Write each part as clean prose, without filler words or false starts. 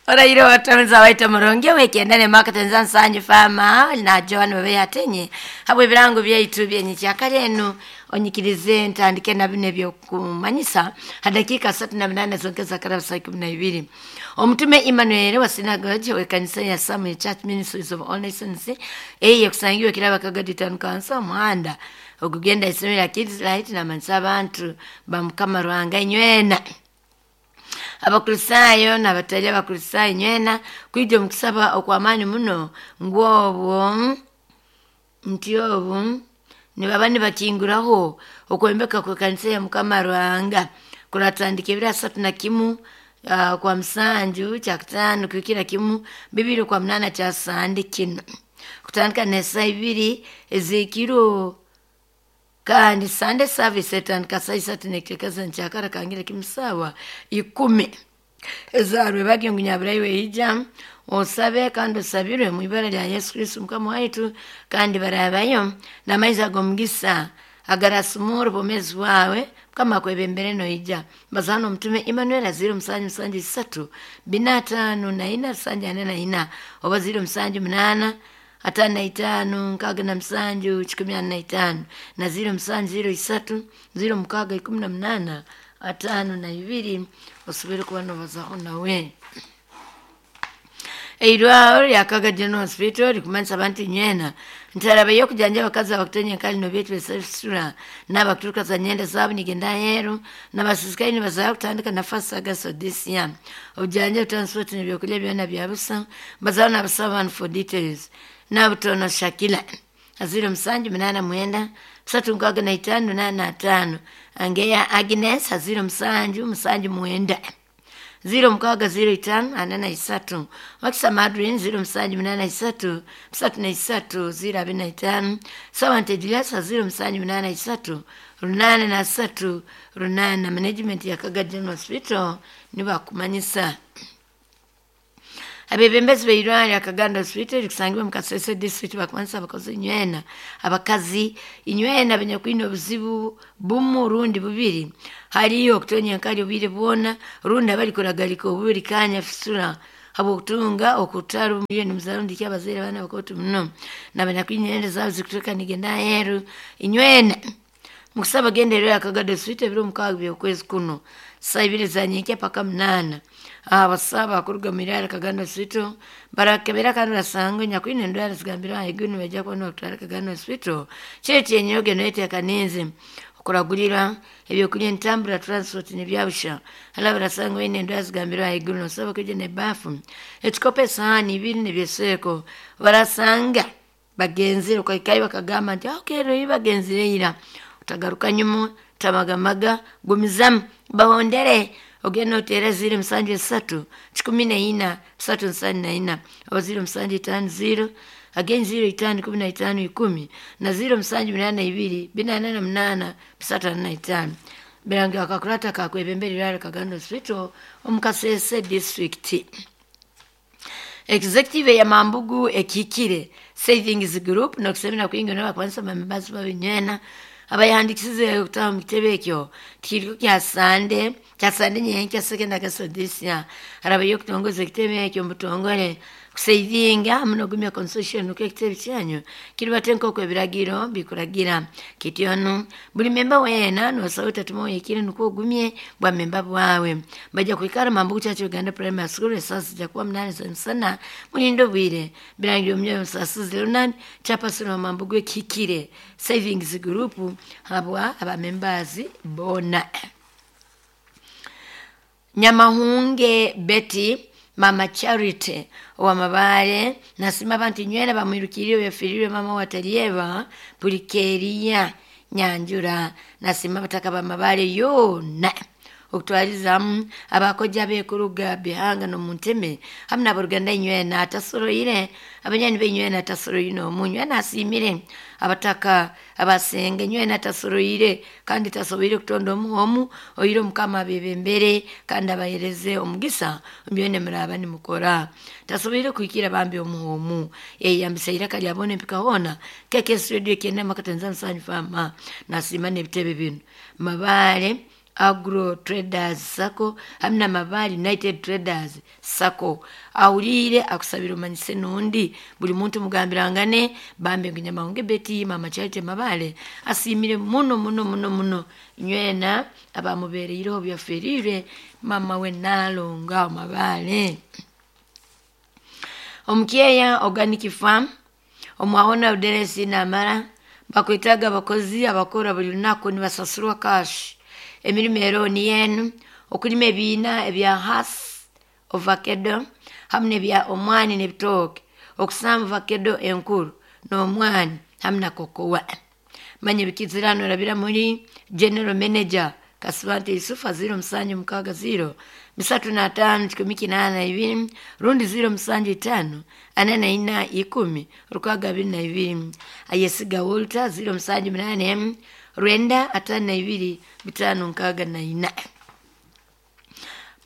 Oraire watonza waita murungi wekiendane makatenza nsanyu fama na Joan bebe yatenye habwe birango byaitu byenyikyakare eno onyikirize ntandike na bino ebyokumanyisa hadakika 38 zongeza karabu saa 12. Omutume Emmanuel wa sinagogi w'ekanisa ya Samuel Church Ministries of All Nations eye kusangiwe kiraba Kagadi Town Council omuhanda ogugenda isomero lya Kids Light namanyisa abantu ba Mukama Ruhanga inywena Abakristaayo n'abatali Abakristaayo inywena kwija omu kusaba okw'amaani muno ngu obwo nti obu nibaba nibakinguraho okwombeka kw'ekanisa ya Mukama Ruhanga kuratandika ebiro 31 kwa musanju kyakutaano kuhikira kimu 28 kya sande kino kutandika n'esaa ibiri ez'ekiro kandi Sunday service etandika saa isatu n'ekiteekaza nkyakara kangira kimu saawa 10 ezarwe bagyo ngu nyaburayi ija osabe kandi osabirwe mu ibara lya Yesu Kristo Mukama waitu kandi barabayo n'amaizi ag'omugisa agarasumura obwomeezi bwawe Mukama akwebembere noija. Bazana omutume Emmanuel 0773 454 744 oba 078 55 67 145 na 0703 06 18 52 osobole kuba nobazaho nawe. Eirwaro lya Kaga General Hospital likumanyisa abantu inywena ntaraba y'okujanja abakazi abakutonya enkali nobyetwa esasura n'abakuturuka za nyenda zaabo nigenda aheeru n'abasiisikaire nibazaho kutandika na first August this year. Obujanja, transport n'ebyokurya byona bya busa. Bazaho n'abasaba abantu for details. Nabutono Shakila 0789 365 85 Angeya Agnes 0779 0605 43 Wakisa Madrin 0783 33 025 Sawante Julius 0783 83 8 management ya Kaga General Hospital nibakumanyisa. Abebembezi b'eirwaro lya Kaganda Hospital likusangibwa mu Kasese District bakumanyisa abakozi inywena abakazi inywena abanyakwine obuzibu bumu rundi bubiri hariyo okutonya enkali obwire bwona rundi abarikuragalika obubiri kanya fisura habw'okutunga okutara omuliro nimuzaara rundi ki abazaire abaana bakooto muno n'abanyakwine enyenda zaabo zikuturuka nigenda aheeru inywena mukusaba genda eryo Kagado Hospital ebiro 6 by'okwezi kuno saa ibiri za nyenkya paka 8. Abasaba kuruga mu irwaro Kagando Hospital barakebera kandi basanga nyakwine endwara zigambirwe ahaiguru nibajya kuba nibakutwara Kagando Hospital kyekyo enyoge noyeteekanize okuragurira ebyokurya entambura transport nebyabusha hala barasanga baine endwara zigambirwe ahaiguru nosaba kwija n'ebaafu ekikopo esahaani ibiri nebyeseeko barasanga bagenzire okahikayo bakagamba nti okay rero bagenzire ira utagaruka nyuma tamagamaga gumizamu bahondere ogenda oteera 073 14 374 oba 0750 again 05 15 10 na 0782 488 345 birangi akakurata kakwebembera irwaro Kagando Hospital omu Kasese District. Executive ya Mambugu ekikire Savings Group nokusemera kwingi n'abakwanisa members babinywena abayahandikisize okutaha mu kitebe ekyo tikiriko kya Sande nyenkya second August this year harabayo okutongoza ekitebe ekyo mubutongole kusavinga hamu n'ogumya constitution nuko ekitebe kyanyu kiribate nk'oku ebiragiro bikuragira kityono buli memba weena nosaba otatuma oyekire nukwo ogumye bwa memba bwawe bajja kwikara Mambugu Church Uganda Primary School esaa zijja kuba 8 za misana mulinde obwire birangire omumyoyo musasizi Leonard chairperson wa Mambugu ekihikire Savings Group habwa abamembazi bona. Nyamahunge Betty Mama Charity wa Mabare nasima abantu inywena bamwirukiriye byafirirwe mama watalieva Pulikeria Nyanjura nasima bataka ba Mabare yona okutwalizamu abakoja bekuruga bihanga nomunteme hamwe n'aboruganda inywena atasoroire abanyani b'inywena atasoroire n'omunywe nasimire abataka abasenga inywena atasoroire kandi tasoboire kutonda omuhomu oire Omukama abebembere kandi abahereze omugisa ombyone muraba nimukora tasoboire kuhikira bambi omuhomu eyambisa iraka lyabona empika hona KKS Radio kyenda makatenza nsanyu fama nasima n'ebitebe bino Mabare. Agro Traders Sacco hamwe na Mabaale United Traders Sacco. Ahuliire akusabira omanyise n'ondi buli muntu mugambirangane bambe ngu Nyamahunge Betty Mama Charity Mabaale asiimire muno muno muno muno nywena abamubeereireho byaferiire mama we Nalonga Mabaale. Omukyeya Organic Farm omwahona Uderesi namara bakwetaga abakozi abakora buli lunaku nibasasurwa cash. Emirimu ero niyo enu: okulima ebiina ebya has ovacado hamu nebya omwani n'ebitooke, okusamba ovakedo enkuru n'omwani hamu na kokowa. Manya ebikizirano orabira muri General Manager Kasibante Yusufu 0760 35 182 rundi 075 44 10 622. Ayesiga Walter 078 9 52 564.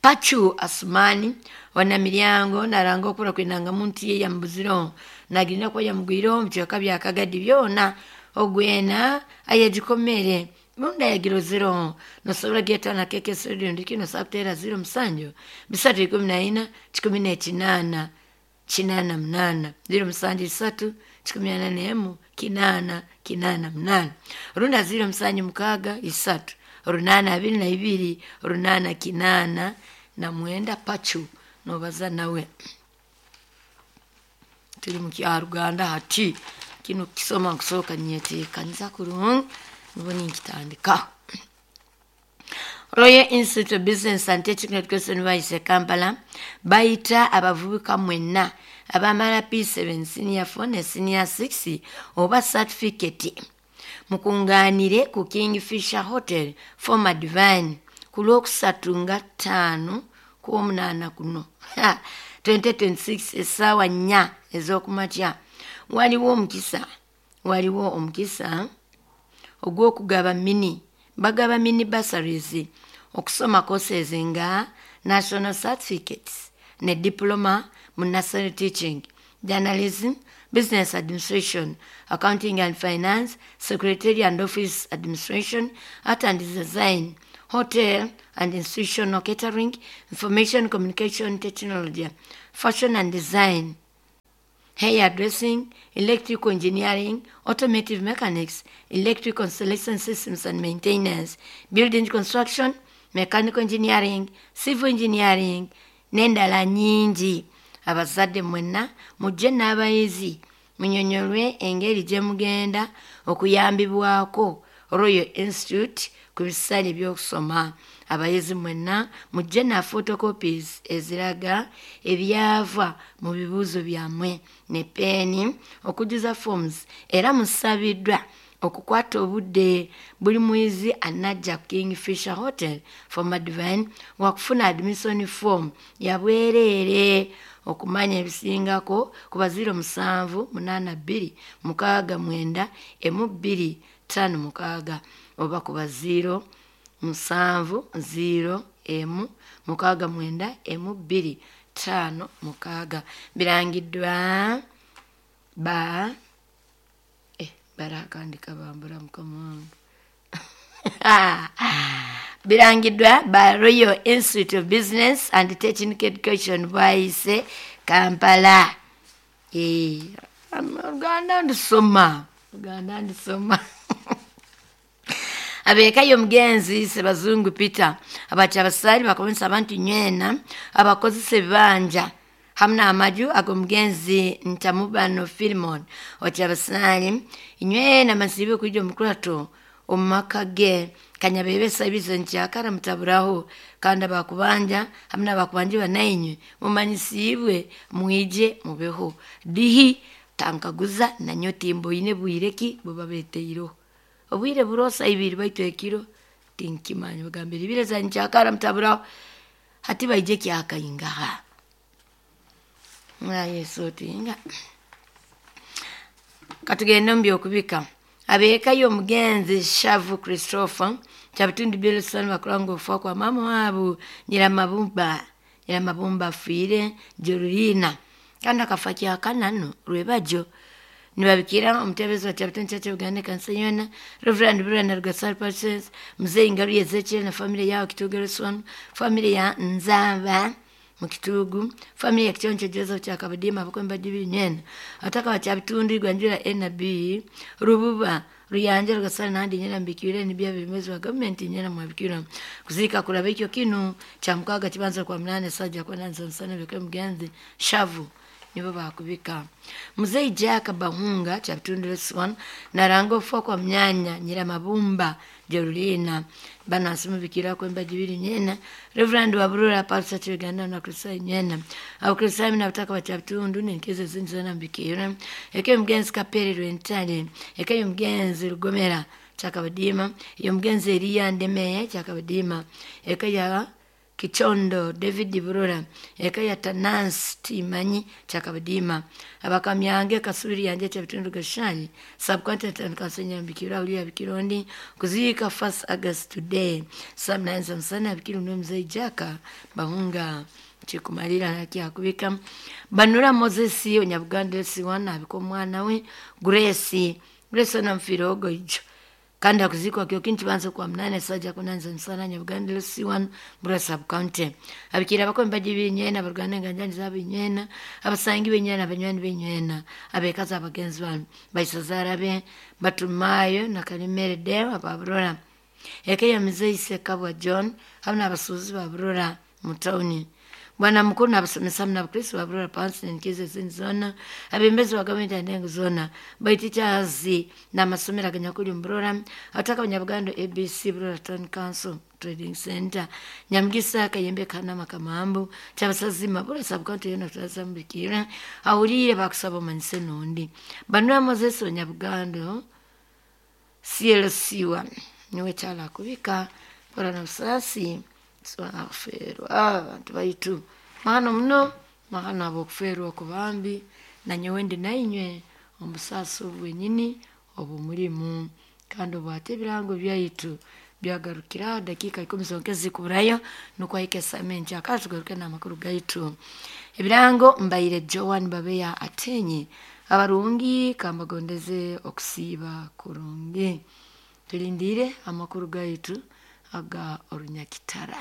Pachu Asumani wanamilyango naranga okura kwinanga muntu ye yamubuziro nagirina ko yamugwiro mu bicweka bya Kagadi byona ogwena ayegikomere munda yagirozero nosobora geta na keke studio ndiki nosobora kutera 07 314 18 88 07 3 81 8 88 runda 07 6 8 22 8 8 na mwenda. Pachu nobaza nawe tuli mu Kyaruganda hati kino kisoma nkusooka nyeteekaniza kurungi nibwo ninkitandika. Royal Institute of Business and Technical Education bayise Kampala bayita abavubuka mwenna abamala P7 senior 4 ne senior 6 oba certificate mukunganire ku Kingfisher Hotel former Divine ku lwokusatu nga 5 ku 8 kuno 2026 essaawa 4 ez'okumakya. Waliwo omukisa ogw'okugaba mini bagaba mini bursaries okusoma courses nga national certificates ne diploma mu nursery teaching, journalism, business administration, accounting and finance, secretarial and office administration, art and design, hotel and institutional catering, information communication technology, fashion and design, hair dressing, electrical engineering, automotive mechanics, electrical installation systems and maintenance, building construction, mechanical engineering, civil engineering n'endala nnyingi. Abazadde mwenna mujje n'abayizi munyonyolwe engeri gye mugenda okuyambibwako Royal Institute ku bisale by'okusoma. Abayizi mwenna mujje na photocopies eziraga ebyava mu bibuuzo byammwe ne peeni okujjuza forms, era musabiddwa okukwata obudde. Buli muyizi anajja ku Kingfisher Hotel former Divine wakufuna admission form ya bwereere. Okumanya ebisingako kuba 07 82 69 12 56 oba kuba 0 7 0 1 69 12 5 6. Birangiddwa ba barakandika bambura mukama wange. Birangiddwa ba Royal Institute of Business and Technical Education bwayise Kampala. Oluganda ndisoma, oluganda ndisoma. Abeekayo omugenzi Sebazungu Peter abaca abasaali bakomesa abantu nywena abakozesa ebibanja hamu n'amaju ag'omugenzi Ntamubano Filimon oti abasaali nywena masiibe okwija omukurato omu maka ge kanyabebesa ebizo nkyakara mutaburaho, kandi abakubanja hamu n'abakubanja banainywe mumanyisiibwe mwije mubeho dihi tankaguza nanyo timboine bwire ki bubabeteireho obwire burosa ibiri baitu ekiro tinkimanya bagambira ibire za nkyakara mutaburaho hati baije kyakaingaha mwa Yesu otinga. Katugende mu byokubika. Abeekayo omugenzi Shavu Christopher Kyabitundu Bilson bakuranga okufa kwa mama waabo Nyiramabumba afiire Jorulina kandi akafa kyakanano rwebajo. Nibabikira omutebezi wa Kyabitone Church of Uganda kanisa yona, Reverend Burana Rugasari Pastors, Mzee Ngaru Ezekiel na familia yao Kitugu Lesson, familia ya Nzaba mukitugu, familia ya Kichoncho Joseph Kyakabadima abakwemba dibiri nyena, ataka wa Kyabitundu Gwanjura NB Rububa Ruyanja Rugasari nandi nyena mbikire nibya bimezi wa government nyena mwabikira kuzika kuraba ekyo kinu kya mukaga kibanza kwa munane sajja kwa nanza nsana bikwe mugenzi shavu nibo bakubika. Mzee Jack Bahunga Kyabitundu Lesson naranga okufa kwa mnyanya Nyiramabumba Jerulina banasimu bikira kwemba jibiri nyena Reverend Waburura Pastor Church Uganda na Kristo nyena Abakristo na bataka wa Kyabitundu nenkeze zinzana mbikira eke mugenzi Kapere Rwentale eke mugenzi Rugomera Kyakabadima iyo mugenzi Eliya Ndemeye Kyakabadima eke ya Kichondo David Burura eka ya Tanansi Timanyi Kyakabadima abakamyange kasubiri yanje Kyabitundu Gashani subcontinent kansenya mbikira ulia bikirondi kuzika 1st August today samnanza msana bikiru no mzee Jaka Bahunga chikumalira nakiyakubika Banura Moses Onyabuganda siwana abiko mwana we Grace Grace na mfirogo ijo kandi akuzikwa kyo kintu banza kwa mnane saja kunanza nsana Nyabuganda C1 Burra sub county abikira bakomba jibinyena baruganda nganjani zabinyena abasangi benyena abanywani benyena abekaza abagenzi banu baisazara be batumayo na Kalimere Deo ababurora eke ya mzee Sekabwa John hamwe n'abasuuzi baburora mu tawuni Bwana mukuru n'abasomesa na Abakristo baburora pansi nenkize zindi zona abembezi wa gavumenti andengo zona baititazi n'amasomero aganyakuli mburora ataka abanyabuganda ABC Burora Town Council Trading Center Nyamugisa Kayembe Kanama Kamambu Kyabasazima Burra sub county yona turazambikira awulire bakusaba omanyise nundi Banura Moses Onyabuganda CLC1 niwe kyalakubika mpora na busaasi swaferwa abantu baitu mahano muno mahano ab'okuferwa okubambi nanyowe ndi nainywe omubusaasi obu bwenyini obumulimu kandi obwate ebirango byaitu byagarukira dakika 10 zonka ezikuburayo nukwo ahika esaaha enkyakara tugaruke n'amakuru gaitu ebirango mbaire Joan Babeya Atenyi abarungi kambagondeze okusiiba kurungi tulindire amakuru gaitu aga orunyakitara.